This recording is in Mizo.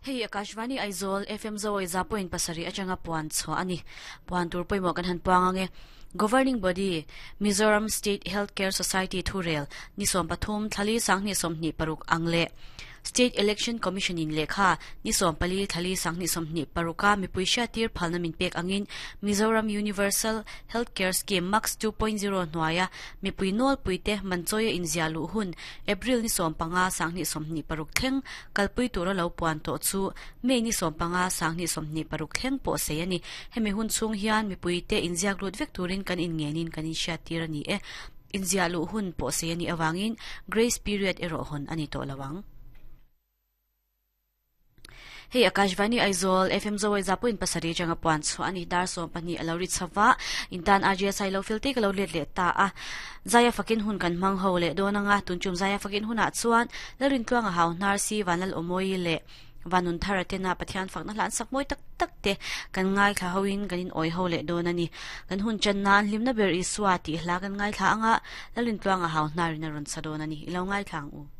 Hei Akashvani Aizawl FM Zawi za point pasarih atanga puan chhuah a ni. Puan tur pawimawh kan han puang ang e. Governing Body, Mizoram State Health Care Society thurel ni 13 thlali sanghnih 26 ang leh State Election Commission in lehkha ni 14 thlali sanghnih 26 a mipui hriattir phalna min pek angin Mizoram Universal Health Care Scheme MACS 2.0 hnuaia mipui nawlpuite manchawia inziah luh hun April ni 15 sanghnih 26 thleng kalpui tura lo puan tawh chu May ni 15 sanghnih 26 thleng pawh sei a ni. Hemi hun chhung hian mipuite inziak lut vek turin kan inngenin kan inhriattir a ni e. Inziah luh hun pawh sei a nih avangin grace period erawh hawn a ni tawh lo ang. Hei Akashvani Aizawl FM Zawai Zapuin pasarih atanga puan chhuah a ni. Dar 12 a lo ri chho va, intan RGSI lo fel te ka lo let leh ta a. Zaia fakin hun kan hmang ho leh dawn anga, tunchum Zaia fakin hunah chuan Lalrintluanga hau hnar si Vanlal Awmawi leh Vanun Thara tena Pathian fakna hlan sak mawi tak tak te kan ngaithla hoin kan in awi ho leh dawn a ni. Kan hun chan nan hlimna ber Isua tih hla kan ngaithla anga, Lalrintluanga hau hnarin a rawn sa dawn a ni. I lo ngaithla ang u.